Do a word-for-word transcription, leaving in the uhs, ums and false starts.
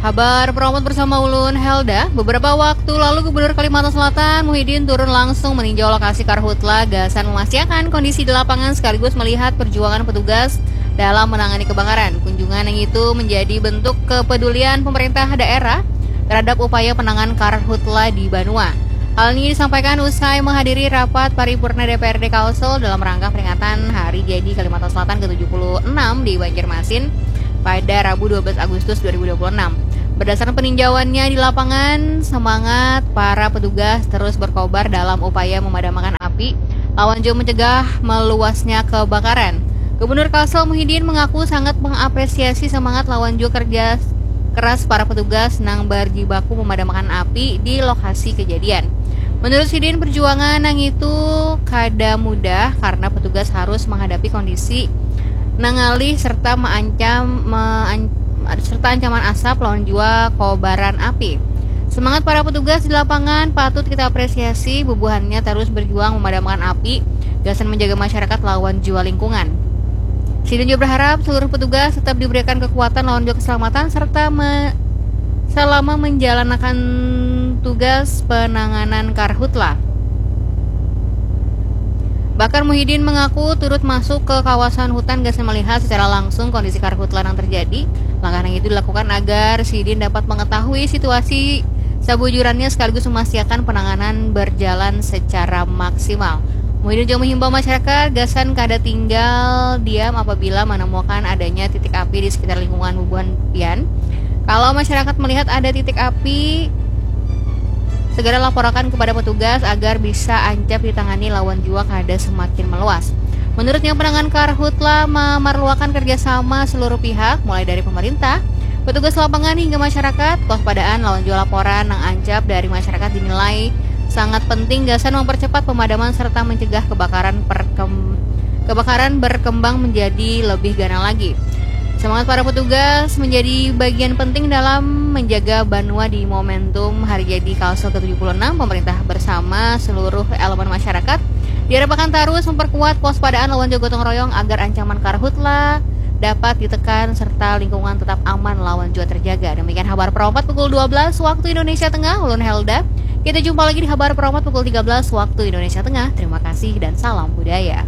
Habar Promote bersama ulun, Helda. Beberapa waktu lalu, Gubernur Kalimantan Selatan, Muhyiddin, turun langsung meninjau lokasi karhutla gasan memastikan kondisi di lapangan sekaligus melihat perjuangan petugas dalam menangani kebakaran. Kunjungan yang itu menjadi bentuk kepedulian pemerintah daerah terhadap upaya penanganan karhutla di Banua. Hal ini disampaikan usai menghadiri rapat paripurna D P R D Kalsel dalam rangka peringatan Hari Jadi Kalimantan Selatan ke tujuh puluh enam di Banjarmasin pada Rabu dua belas Agustus dua ribu dua puluh enam. Berdasarkan peninjauannya di lapangan, semangat para petugas terus berkobar dalam upaya memadamkan api lawan juga mencegah meluasnya kebakaran. Gubernur Kalsel Muhyiddin mengaku sangat mengapresiasi semangat lawan juga kerja keras para petugas nang berjibaku memadamkan api di lokasi kejadian. Menurut sidin, perjuangan nang itu kada mudah karena petugas harus menghadapi kondisi nangalih serta mengancam, mengan- serta ancaman asap lawan juga kobaran api. Semangat para petugas di lapangan patut kita apresiasi, bubuhannya terus berjuang memadamkan api gasan menjaga masyarakat lawan juga lingkungan. Sidin juga berharap seluruh petugas tetap diberikan kekuatan lawan juga keselamatan serta me- selama menjalankan tugas penanganan karhutla. Bahkan Muhyiddin mengaku turut masuk ke kawasan hutan gasan melihat secara langsung kondisi karhutla yang terjadi. Langkah yang itu dilakukan agar sidin dapat mengetahui situasi sabujurannya sekaligus memastikan penanganan berjalan secara maksimal. Muhyiddin juga menghimbau masyarakat gasan kada tinggal diam apabila menemukan adanya titik api di sekitar lingkungan bubuhan pian. Kalau masyarakat melihat ada titik api, segera laporakan kepada petugas agar bisa ancap ditangani lawan juga kada semakin meluas. Menurutnya, penanganan karhutla memerlukan kerjasama seluruh pihak, mulai dari pemerintah, petugas lapangan hingga masyarakat. Kewaspadaan lawan juga laporan nang ancap dari masyarakat dinilai sangat penting gasan mempercepat pemadaman serta mencegah kebakaran perkem- kebakaran berkembang menjadi lebih ganal lagi. Semangat para petugas menjadi bagian penting dalam menjaga Banua di momentum Hari Jadi Kalsel ke tujuh puluh enam. Pemerintah bersama seluruh elemen masyarakat diharapkan terus memperkuat kewaspadaan lawan juga gotong royong agar ancaman karhutla dapat ditekan serta lingkungan tetap aman lawan juga terjaga. Demikian Habar Perompat pukul dua belas waktu Indonesia Tengah, ulun Helda. Kita jumpa lagi di Habar Perompat pukul tiga belas waktu Indonesia Tengah. Terima kasih dan salam budaya.